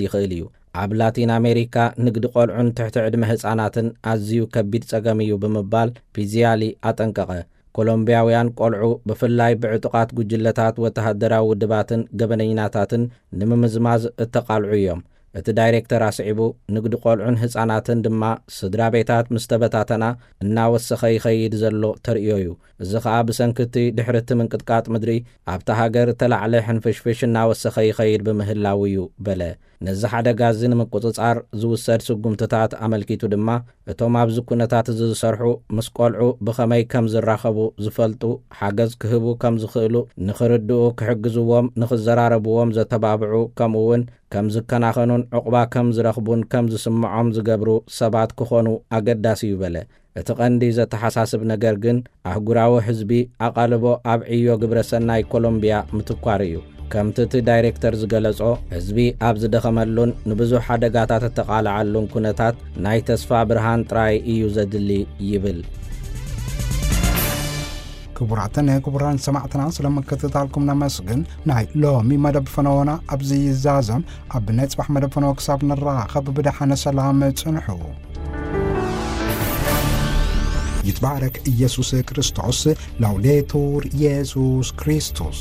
ይኽእል እዩ። ኣብ ላቲን ኣሜሪካ ንግዲ ቆልዑን ትሕቲ ዕድመ ህጻናትን ኣዝዩ ከቢድ ጸገም እዩ ብምባል ፒዚያሊ ኣጠንቀቐ። ኮሎምቢያውያን ቆልዑ ብፍላይ ብዕጡቓት ጉጅለታት ወተሃደራዊ ውድባትን ገበነኛታትን ንምምዝማዝ እተቓልዑ እዮም። እቲ ዳይሬክተር ኣስዒቡ፣ ንግዲ ቆልዑን ህጻናትን ድማ ስድራ ቤታት ምስ ተበታተና እናወሰኸ ይኸይድ ዘሎ ተርእዮ እዩ። እዚ ኸኣ ብሰንኪ እቲ ድሕሪ እቲ ምንቅጥቃጥ ምድሪ ኣብታ ሃገር እተላዕለ ሕንፍሽፍሽ እናወሰኸ ይኸይድ ብምህላው እዩ በለ። ነዚ ሓደጋ እዚ ንምቁጽጻር ዝውሰድ ስጉምትታት ኣመልኪቱ ድማ፣ እቶም ኣብዚ ኩነታት እዚ ዝሰርሑ ምስ ቆልዑ ብኸመይ ከም ዝራኸቡ ዝፈልጡ፣ ሓገዝ ክህቡ ከም ዝኽእሉ ንኽርድኡ ክሕግዝዎም፣ ንኽዘራረብዎም ዘተባብዑ፣ ከምኡ እውን ከም ዝከናኸኑን ዕቑባ ከም ዝረኽቡን ከም ዝስምዖም ዝገብሩ ሰባት ክኾኑ ኣገዳሲ እዩ በለ። እቲ ቀንዲ ዘተሓሳስብ ነገር ግን ኣህጉራዊ ህዝቢ ኣቓልቦ ኣብ ዕዮ ግብረ ሰናይ ኮሎምቢያ ምትኳር እዩ። ከምቲ እቲ ዳይሬክተር ዝገለጾ፣ ህዝቢ ኣብ ዝደኸመሉን ንብዙሕ ሓደጋታት እተቓልዓሉን ኩነታት ናይ ተስፋ ብርሃን ጥራይ እዩ ዘድሊ ይብል። ክቡራትን ክቡራን ሰማዕትና፣ ስለ ምክትታልኩም ነመስግን። ናይ ሎሚ መደብ ፈነወና ኣብዚ ይዛዘም። ኣብ ናይ ጽባሕ መደብ ፈነወ ክሳብ ንራኸብ ብደሓነ ሰላም ጽንሑ። ይትባረክ ኢየሱስ ክርስቶስ። ላውዴቱር ኢየሱስ ክርስቶስ።